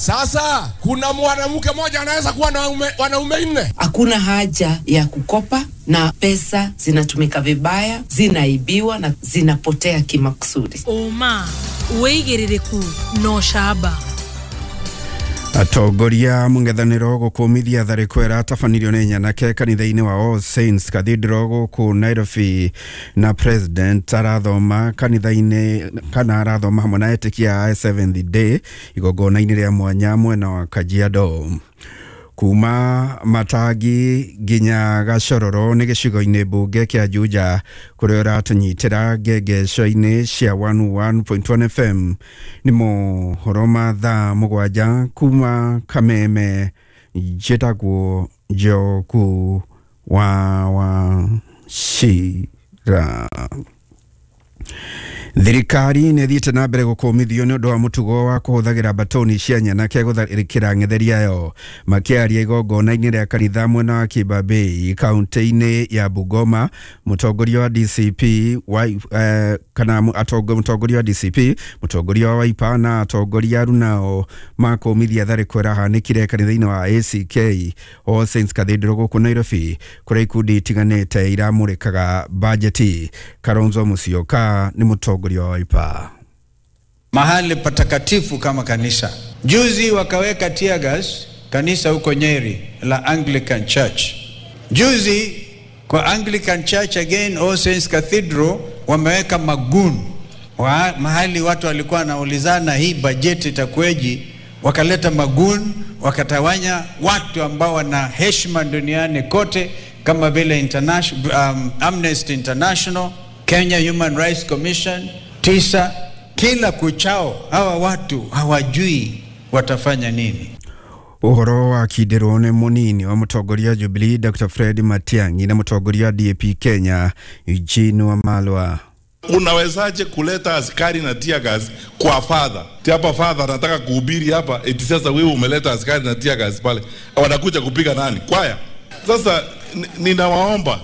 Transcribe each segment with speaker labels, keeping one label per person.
Speaker 1: Sasa kuna mwanamke mmoja anaweza kuwa na wanaume nne.
Speaker 2: Hakuna haja ya kukopa, na pesa zinatumika vibaya, zinaibiwa na zinapotea kimakusudi.
Speaker 3: Uma wĩigĩrĩrĩku na ũcamba.
Speaker 4: Atongoria mũng'ethanĩro gũkũmithia tharĩko ĩratabanirio nĩ nyanake kanitha-inĩ wa All Saints Cathedral gũkũ Nairobi, na president arathoma kanitha-inĩ kana arathoma hamwe na etĩkia a Seventh Day igongona-inĩ rĩa mwanya mwena wa Kajiado. Kuma Matangi nginya Gacororo nĩ gĩcigo-inĩ mbunge kĩa Juja kũrĩa ũratũnyitĩra ngengeco-inĩ cia 101.1 FM. Nĩ mohoro ma thaa 7 kuma Kameme. Njĩtagwo Njoku wa Wachira. Thirikari nĩ ĩthiĩte na mbere gũkũmithio nĩ ũndũ wa mũtugo wa kũhũthagĩra batoni cia nyanake gũtharĩkĩra ng'etheri yayo. Makĩaria igongona-inĩ rĩa kanitha mwena wa Kibabei kaunti-inĩ ya Bungoma, mũtongoria wa DCP kana mũtongoria wa DCP, mũtongoria wa Wiper na atongoria arunao makũmithia tharĩko ĩrahanĩkire kanitha-inĩ wa ACK All Saints Cathedral gũkũ Nairobi, kũrĩa ikundi itiganĩte iramũrĩkaga bajeti. Kalonzo Musyoka nĩ mũtongoria wa Wiper.
Speaker 5: Mahali patakatifu kama kanisa. Juzi wakaweka tear gas kanisa huko Nyeri la Anglican Church. Juzi kwa Anglican Church again All Saints Cathedral wameweka magun. Mahali watu walikuwa wanaulizana hii bajeti itakuweje, wakaleta magun, wakatawanya watu ambao wana heshima duniani kote kama vile Amnesty International, Kenya Human Rights Commission, tisa. Kila kuchao hawa watu hawajui watafanya nini.
Speaker 4: Ũhoro wa kindirwo nĩ mũnini wa mũtongoria Jubilee Dr. Fred Matiang'i na mũtongoria DAP Kenya Eugene Wamalwa.
Speaker 6: Unawezaje kuleta askari na tear gas kwa father? Ti hapa father anataka kuhubiri hapa, eti sasa wewe umeleta askari na tear gas pale. Wanakuja kupiga nani? Kwaya. Sasa ninawaomba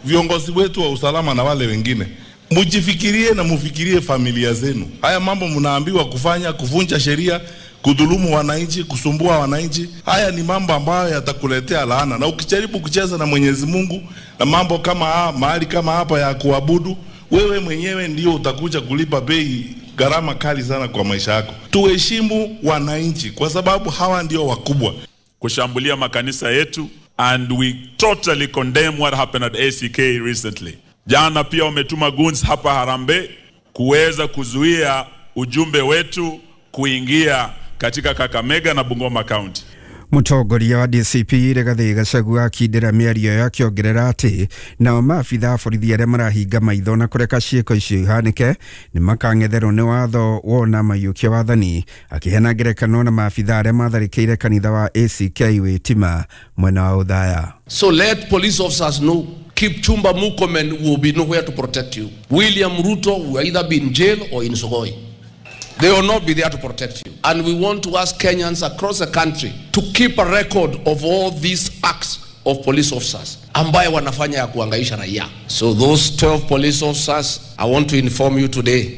Speaker 6: viongozi wetu wa usalama na wale wengine, mujifikirie na mufikirie familia zenu. Haya mambo mnaambiwa kufanya, kuvunja sheria, kudhulumu wananchi, kusumbua wananchi, haya ni mambo ambayo yatakuletea laana. Na ukijaribu kucheza na Mwenyezi Mungu na mambo kama haya, mahali kama hapa ya kuabudu, wewe mwenyewe ndio utakuja kulipa bei gharama kali sana kwa maisha yako. Tuheshimu wananchi kwa sababu hawa ndio wakubwa.
Speaker 7: Kushambulia makanisa yetu, and we totally condemn what happened at ACK recently. Jana pia wametuma goons hapa Harambee kuweza kuzuia ujumbe wetu kuingia katika Kakamega na Bungoma County.
Speaker 4: Mũtongoria wa DCP Rigathi Gachagua akindĩra mĩario yake akĩongerera atĩ nao maabitha a borithi arĩa marahinga maitho na kũreka ciĩko icio ihanĩke nĩ makang'etherwo nĩ watho wona maiyũkia wathani, akĩheana ngerekano na maabitha arĩa matharĩkĩire kanitha wa ACK Witima mwena wa Othaya.
Speaker 8: So let police officers know Kipchumba Murkomen will be nowhere to protect you. William Ruto will either be in jail or in Sugoi. They will not be there to protect you. And we want to ask Kenyans across the country to keep a record of all these acts of police officers ambaye wanafanya ya kuangaisha raia. So those 12 police officers, I want to inform you today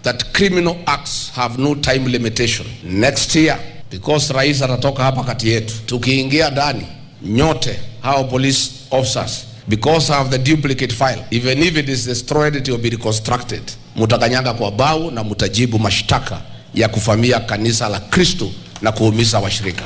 Speaker 8: that criminal acts have no time limitation. Next year, because rais atatoka hapa kati yetu, tukiingia ndani nyote hao police officers, because of the duplicate file, even if it is destroyed, it will be reconstructed. Mutakanyaga kwa bao na mutajibu mashtaka ya kufamia kanisa la Kristo na kuumiza washirika.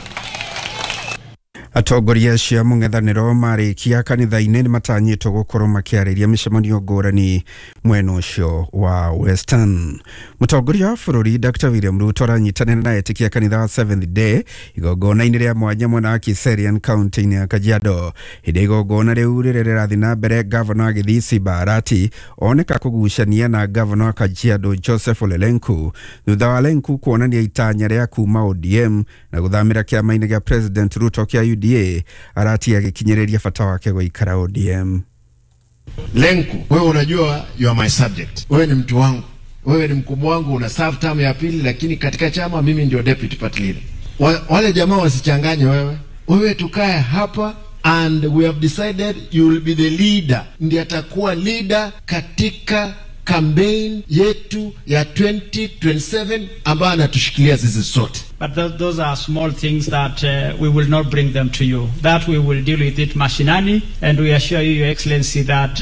Speaker 4: Atongoria acio a mũng'ethanĩro marĩkia kanitha-inĩ nĩmatanyĩtwo gũkorwo makĩarĩria mĩcemanio ngũrani mwena ũcio wa Western. Mũtongoria wa bũrũri Dr. William Ruto aranyitanĩra na etĩkia kanitha wa Seventh Day igongona-inĩ rĩa mwanya mwena wa Kiserian kaunti-inĩ ya Kajiado. Hĩndĩ igongona rĩu rĩrĩa rĩrathiĩ na mbere, gavana wa Gĩthii Simba Arati oneka kũgucania na gavana wa Kajiado Joseph Ole Lenku thutha wa Lenku kuonania itanya rĩa kuma ODM na gũthamĩra kĩama-inĩ gĩa President Ruto kĩa UDA. Arati agĩkinyĩrĩria bata wake gũikara ODM.
Speaker 9: Lenku, wewe unajua you are my subject. Wewe ni mtu wangu. Wewe ni mkubwa wangu, una serve term ya pili, lakini katika chama mimi ndio deputy party leader. Wale jamaa wasichanganye wewe. Wewe tukae hapa and we have decided you will be the leader. Ndiye atakuwa leader katika campaign yetu ya 2027 ambayo anatushikilia sisi sote.
Speaker 10: But those are small things that we will not bring them to you. That we will deal with it mashinani, and we assure you, Your Excellency, that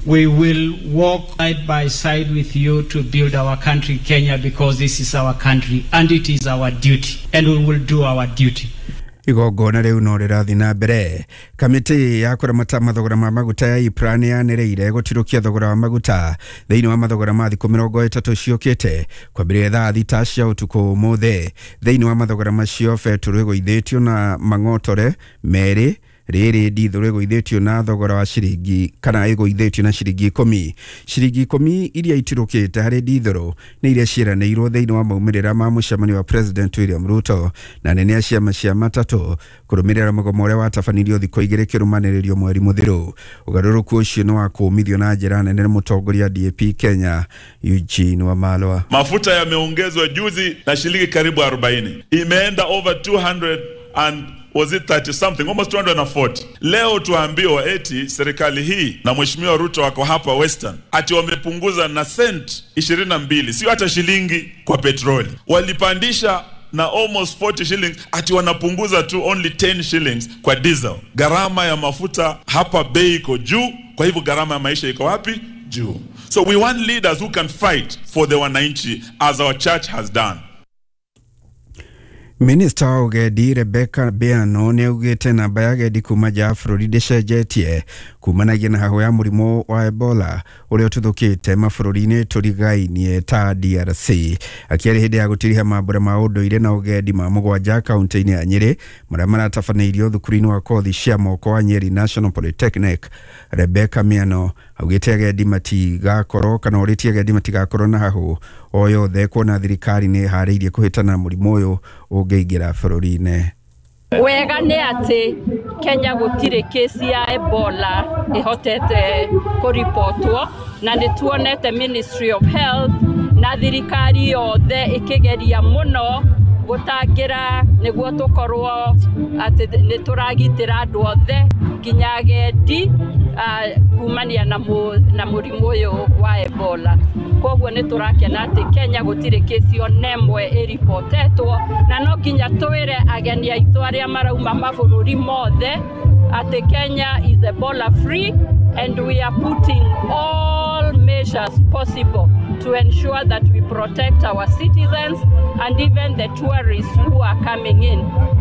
Speaker 10: we will walk side by side with you to build our country, Kenya, because this is our country and it is our duty, and we will do our duty.
Speaker 4: Igongona rĩu no rĩrathiĩ na mbere. Kamĩtĩ ya kũramata mathogora ma maguta ya IPRA nĩ yanĩrĩire gũtirũkia thogora wa maguta thĩinĩ wa mathogora ma thikũ 30 ciũkĩte kwambĩrĩria thaa 6 cia ũtukũ ũmũthĩ. Thĩinĩ wa mathogora macio betũrũ ĩgũithĩtio na mang'otore merĩ, rĩrĩ ndithũrũ ĩgũithĩtio na thogora wa ciringi kana ĩgũithĩtio na ciringi 10. Ciringi 10 iria itirũkĩte harĩ ndithũrũ nĩ iria ciĩranĩirwo thĩinĩ wa maumĩrĩra ma mũcemanio wa President William Ruto na nene a ciama cia matatũ kũrũmĩrĩra mũgomo ũrĩa watabanirio thikũ 2 kĩrũmanĩrĩrio mweri mũthiru. Ũgarũrũku ũcio nĩ wa kũũmithio na njĩra nene nĩ mũtongoria DAP Kenya Eugene Wamalwa.
Speaker 7: Mafuta yameongezwa juzi na shilingi karibu 40, imeenda over 200 and was it 30 something, almost 240. Leo tuambiwa eti serikali hii na Mheshimiwa Ruto wako hapa Western ati wamepunguza na cent 22, sio hata shilingi kwa petroli. Walipandisha na almost 40 shillings, ati wanapunguza tu only 10 shillings kwa diesel. Gharama ya mafuta hapa bei iko juu, kwa hivyo gharama ya maisha iko wapi? Juu. So we want leaders who can fight for the wananchi as our church has done.
Speaker 4: Minista wa ũgendi Rebecca Beano nĩ augĩte namba ya agendi kuma nja ya bũrũri ndĩcenjetie kumanagia na hahũ ya mũrimũ wa Ebola ũrĩa ũtuthũkĩte mabũrũri-inĩ tũrigainie ta DRC. Akĩaria hĩndĩ ya gũtiriha mambũra ma ũndũire na ũgendi ma 7 kaunti-inĩ ya Nyĩrĩ marĩa maratabanĩirio thukuru-inĩ wa kothi cia moko wa Nyeri National Polytechnic, Rebecca Miano augĩte agendi matigakorwo kana ũrĩtie agendi matigakorwo na hahũ o yothe kuona thirikari nĩ ĩharĩirie kũhĩtana na mũrimũ ũyũ ũngĩingĩra bũrũri-inĩ.
Speaker 11: Wega nĩ atĩ Kenya gũtirĩ kesi ya Ebola ĩhotete kũripotwo, na nĩ tuonete Ministry of Health na thirikari yothe ĩkĩgeria mũno gũtangĩra nĩguo tũkorwo atĩ nĩ tũragitĩra andũ othe nginya agendi kumania na mũrimũ ũyũ wa Ebola. Koguo nĩ tũrakena atĩ Kenya gũtirĩ kesi ona ĩmwe ĩripotetwo, na no nginya twĩre ageni aitũ arĩa marauma mabũrũri mothe atĩ Kenya is Ebola free and we are putting all measures possible to ensure that we protect our citizens and even the tourists who are coming in.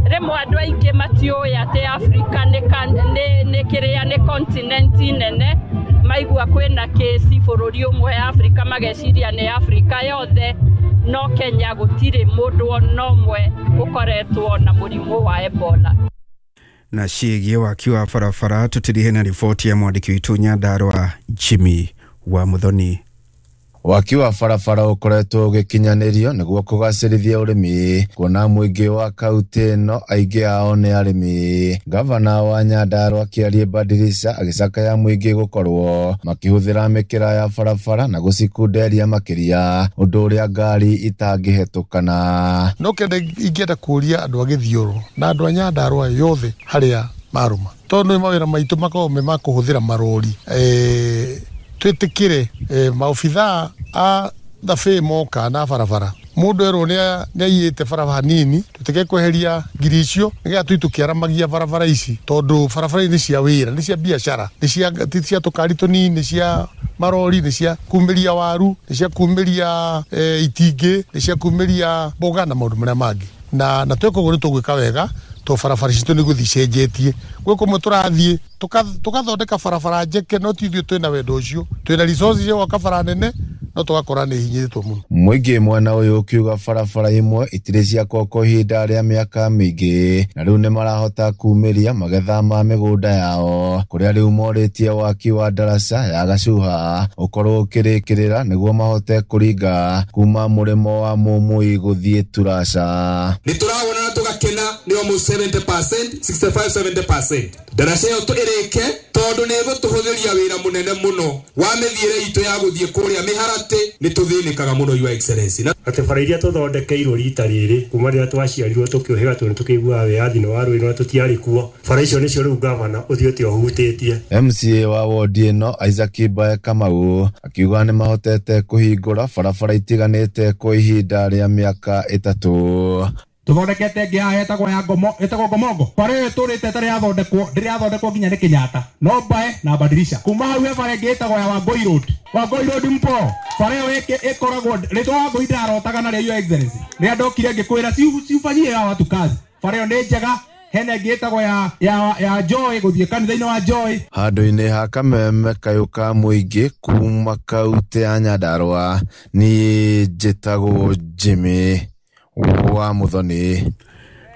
Speaker 11: Rĩmwe andũ aingĩ matiũĩ atĩ Africa nĩ kĩrĩa nĩ continent nene, maigua kwĩna kesi bũrũri ũmwe Africa mageciria nĩ Africa yothe, no Kenya gũtirĩ mũndũ ona ũmwe ũkoretwo na mũrimũ wa Ebola.
Speaker 4: Na ciĩgiĩ waki wa barabara tũtirihe na riboti ya mwandĩki witũ Nyandarua Jimmy wa Muthoni.
Speaker 12: Waki wa barabara ũkoretwo ũgĩkinyanĩrio nĩguo kũgacĩrithia ũrĩmi, kuona mũingĩ wa kaunti ĩno aingĩ ao nĩ arĩmi. Gavana wa Nyandarua Kĩarie Badirisha agĩcakaya mũingĩ gũkorwo makĩhũthĩra mĩkĩra ya barabara na gũcikunderia makĩria, ũndũ ũrĩa ngari itangĩhetũkana.
Speaker 13: No kende ingĩenda kũria andũ a Gĩthiũrũ na andũ a Nyandarua yothe harĩa marũma, tondũ nĩ mawĩra maitũ makoragwo me ma kũhũthĩra marori, twĩtĩkĩre maobithaa a thabĩ moka na barabara mũndũ erwo nĩ aiyĩte barabara nini, tũtĩke kweheria ngiri icio nĩgetha tũi tũkĩaramagia barabara ici, tondũ barabara nĩ cia wĩra, nĩ cia biacara, nĩ cia tũkari tũnini, nĩ cia marori, nĩ cia kumĩria waru, nĩ cia kumĩria itingĩ, nĩ cia kumĩria mboga na maũndũ marĩa mangĩ. Na tweka ũguo nĩ tũgwĩka wega, tondũ barabara citũ nĩ gũthiĩ icenjetie. Gwĩ kũmwe tũrathiĩ tũgathondeka barabara njeke, no ti ithuĩ twĩna wendo ũcio, twĩna resources cia gwaka bara nene, no tũgakora nĩ hinyĩrĩtwo mũno.
Speaker 12: Mũingĩ mwena ũyũ ũkiuga barabara imwe itirĩ ciakwo ihinda rĩa mĩaka mĩingĩ, na rĩu nĩ marahota kumĩria magetha ma mĩgũnda yao, kũrĩa rĩu morĩtie waki wa ndaraca ya Gacuha ũkorwo ũkĩrĩkĩrĩra nĩguo mahote kũringa kuma mũrĩmo wa Mũmũi gũthiĩ Turaca.
Speaker 1: Nĩ tũrawona
Speaker 14: tũgakena nĩ almost 70%, 65-70%. Ndaraca ĩyo ĩrĩke tondũ nĩ ĩgũtũhũthĩria wĩra mũnene mũno wa mĩthiĩre itũ ya gũthiĩ kũrĩa mĩharatĩ, nĩ tũthĩnĩkaga mũno, Your Excellency.
Speaker 15: Atĩ bara iria tũthondekeirwo rita rĩrĩ kuma rĩrĩa twaciarirwo tũkĩũhĩga tondũ nĩtũkĩiguaga wĩyathi nĩ warũĩrwo na tũtiarĩ kuo, bara icio nĩcio rĩu gavana ũthiĩte ũhutĩtie.
Speaker 12: MCA wa wodi ĩno Isaac Mbae Kamau akiuga nĩ mahotete kũhingũra barabara itiganĩte kwa ihinda rĩa mĩaka 3.
Speaker 16: Tuthondekete ĩngĩ haha ĩtagwo ya Ngomo, ĩtagwo Ngomongo. Bara ĩyo ĩtũrĩte ĩtarĩ yathondekwo, ndĩrĩ yathondekwo nginya nĩ Kenyatta. No Mbae na Badirisha. Kuma hau he bara ĩngĩ ĩtagwo ya Wangui Road. Wangui Road mpo. Bara ĩyo ĩkoragwo rĩtwa Wangui ndĩrarotaga narĩo, Your Excellency. Rĩrĩa ndokire ngĩkwĩra ciufanyie hawa watu kazi. Bara ĩyo nĩ njega. Hena ĩngĩ ĩtagwo ya Joy, gũthiĩ kanitha-inĩ wa Joy.
Speaker 12: Handũ-inĩ ha kameme kayũ ka mũingĩ kuma kaunti ya Nyandarua, niĩ njĩtagwo Jimmy wa Muthoni.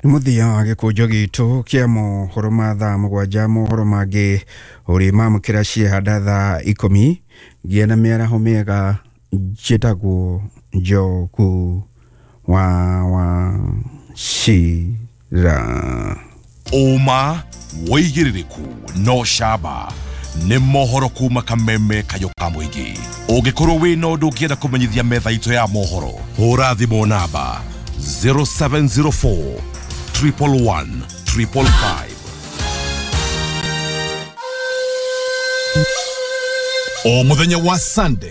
Speaker 4: Nĩ mũthia wa gĩkũnjo gitũ kĩa mohoro ma thaa 7. Mohoro mangĩ ũrĩ mamũkĩra ciehanda thaa 10. Gĩa na mĩaraho mĩega. Njĩtagwo Njogu wa Wachira.
Speaker 17: Ũma wĩigĩrĩrĩku no camba nĩ mohoro kuma kameme kayũ ka mũingĩ. Ũngĩkorwo wĩna ũndũ ũngĩenda kũmenyithia metha itũ ya mohoro, hũra thimũ namba 0704 111 555.
Speaker 18: O muthenya wa Sunday